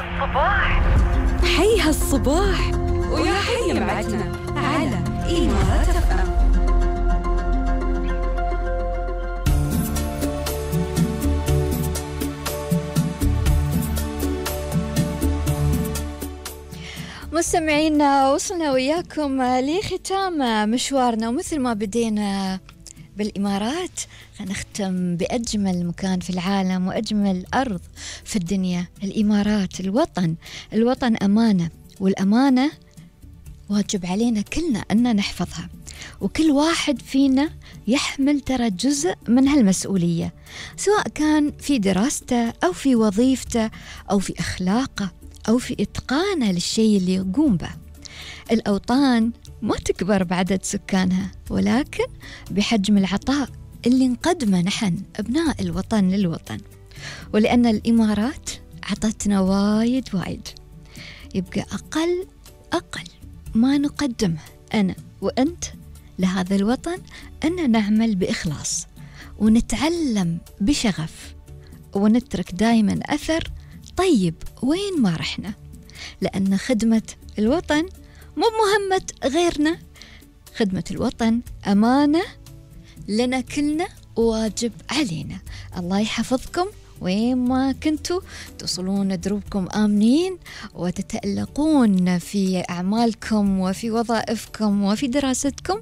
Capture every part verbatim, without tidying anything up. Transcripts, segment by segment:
هالصباح حي هالصباح ويا حي معتنا على إمارات إف إم. مستمعينا، وصلنا وياكم لختام مشوارنا، ومثل ما بدينا بالإمارات نختم بأجمل مكان في العالم وأجمل أرض في الدنيا، الإمارات. الوطن الوطن أمانة، والأمانة واجب علينا كلنا أن نحفظها، وكل واحد فينا يحمل ترى جزء من هالمسؤولية، سواء كان في دراسته أو في وظيفته أو في أخلاقه أو في إتقانه للشيء اللي يقوم به. الأوطان ما تكبر بعدد سكانها، ولكن بحجم العطاء اللي نقدمه نحن أبناء الوطن للوطن. ولأن الإمارات عطتنا وايد وايد، يبقى أقل أقل ما نقدمه أنا وأنت لهذا الوطن أن نعمل بإخلاص ونتعلم بشغف، ونترك دائما أثر طيب وين ما رحنا، لأن خدمة الوطن مو مهمة غيرنا، خدمة الوطن أمانة لنا كلنا وواجب علينا. الله يحفظكم وين ما كنتوا، تصلون دروبكم آمنين وتتألقون في أعمالكم وفي وظائفكم وفي دراستكم،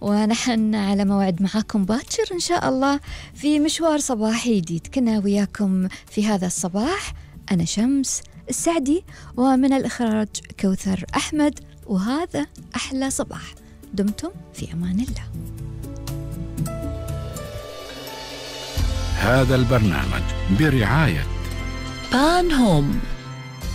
ونحن على موعد معاكم باكر إن شاء الله في مشوار صباحي جديد. كنا وياكم في هذا الصباح أنا شمس السعدي، ومن الإخراج كوثر أحمد، وهذا أحلى صباح. دمتم في أمان الله. هذا البرنامج برعاية بان هوم.